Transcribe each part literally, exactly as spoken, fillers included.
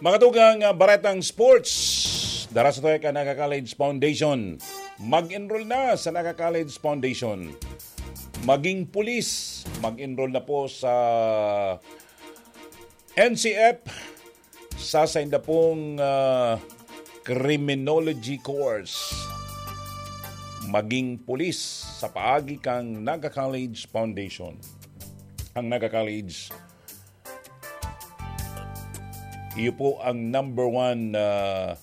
Mga tugang, ah, baretang sports, dara sa tuya kan Naga College Foundation. Mag-enroll na sa Naga College Foundation. Maging pulis, mag-enroll na po sa N C F, sa sainda pong, ah, criminology course. Maging pulis sa paagi kang Naga College Foundation. Ang Naga College, iyo po ang number one, ah,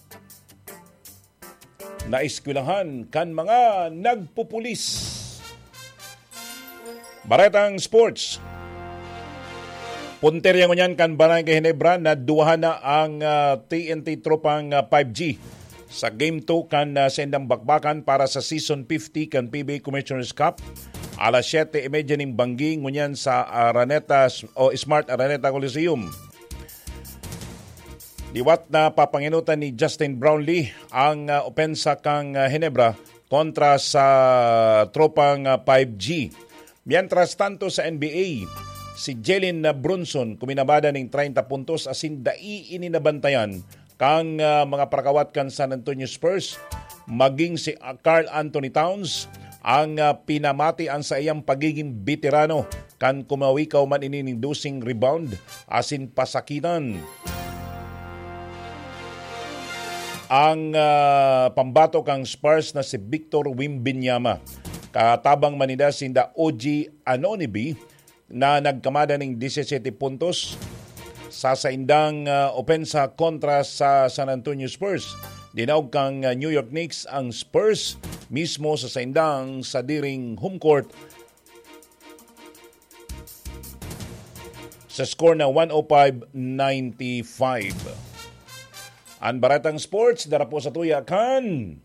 na eskwelahan kan mga nagpupulis. Baretang sports. Puntirya ngunyan kan Barangay Ginebra, naduwahan na ang, ah, T N T tropang, ah, five G sa Game two kan, ah, saindang bakbakan para sa Season fifty kan P B A Commissioner's Cup. Alas siyete y media nin banggi ngunyan sa Araneta o Smart Araneta Coliseum. Liwat na papanginutan ni Justin Brownlee ang, ah, opensa kan, ah, Ginebra kontra sa tropang, ah, five G. Mientras tanto sa N B A, si Jalen Brunson kuminabada nin treinta puntos asin dai ini nabantayan kan, ah, mga parakawat kan San Antonio Spurs, maging si, ah, Karl Anthony Towns ang, ah, pinamati an saiyang pagiging beterano kan kumawikaw man ini nin doseng rebound asin pasakitan. Ang, ah, pambato kan Spurs na si Victor Wembanyama, katabang man ninda sinda O G Anunoby, na nagkamada nin disisete puntos sa saindang, ah, opensa kontra sa San Antonio Spurs. Dinaog kan, ah, New York Knicks ang Spurs mismo sa saindang sadiring home court sa score na one oh five ninety-five. An Baretang Sports, dara po sa tuya kan